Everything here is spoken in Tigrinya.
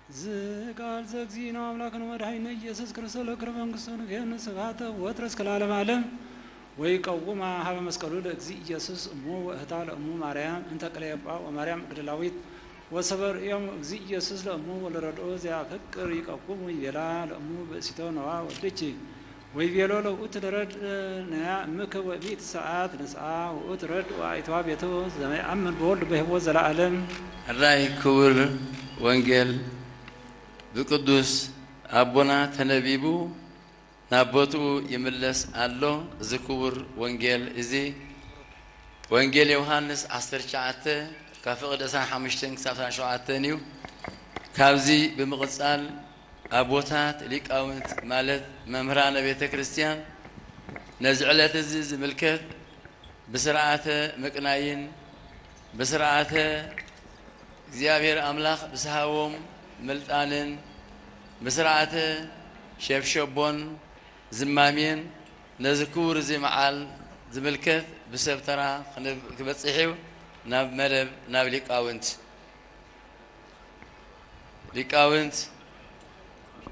ዝቃል ዘግዚእነ ኣምላክነ መድኃኒነ ኢየሱስ ክርስቶስ ለክረ መንግስቱ ንገን ስብሐተ ወትረ እስከ ለዓለመ ዓለም። ወይቀውማ ሀበ መስቀሉ ለእግዚእ ኢየሱስ እሙ ወእህታ ለእሙ ማርያም እንተ ቅሌጳ ወማርያም መግደላዊት ወሰበርእዮም እግዚእ ኢየሱስ ለእሙ ወለረድኦ ዘያፈቅር ይቀውሙ ይቤላ ለእሙ ብእሲቶ ነዋ ወልድኪ። ወይቤሎ ለውእቱ ለረድ ነያ እምከ ወእቢት ሰዓት ንስኣ ውእቱ ረድ ወአይተዋ ቤቱ ዘመይአምን በወልድ በህይወት ዘለዓለም። ሕራይ ክቡር ወንጌል ብቅዱስ ኣቦና ተነቢቡ ናብ ቦትኡ ይምለስ ኣሎ። እዚ ክቡር ወንጌል እዚ ወንጌል ዮሃንስ ዓሰርተ ትሽዓተ ካብ ፍቕዲ ዕስራን ሓሙሽተን ክሳብ ዕስራን ሸውዓተን እዩ። ካብዚ ብምቕጻል ኣቦታት ሊቃውንት ማለት መምህራነ ቤተ ክርስቲያን ነዚ ዕለት እዚ ዝምልከት ብስርዓተ ምቅናይን ብስርዓተ እግዚኣብሔር ኣምላኽ ብዝሃቦም ምልጣንን ብስርዓተ ሸብሸቦን ዝማሜን ነዚ ክቡር እዚ መዓል ዝምልከት ብሰብ ተራ ክንብ- ክበጽሕ እዩ። ናብ መደብ ናብ ሊቃውንት ሊቃውንት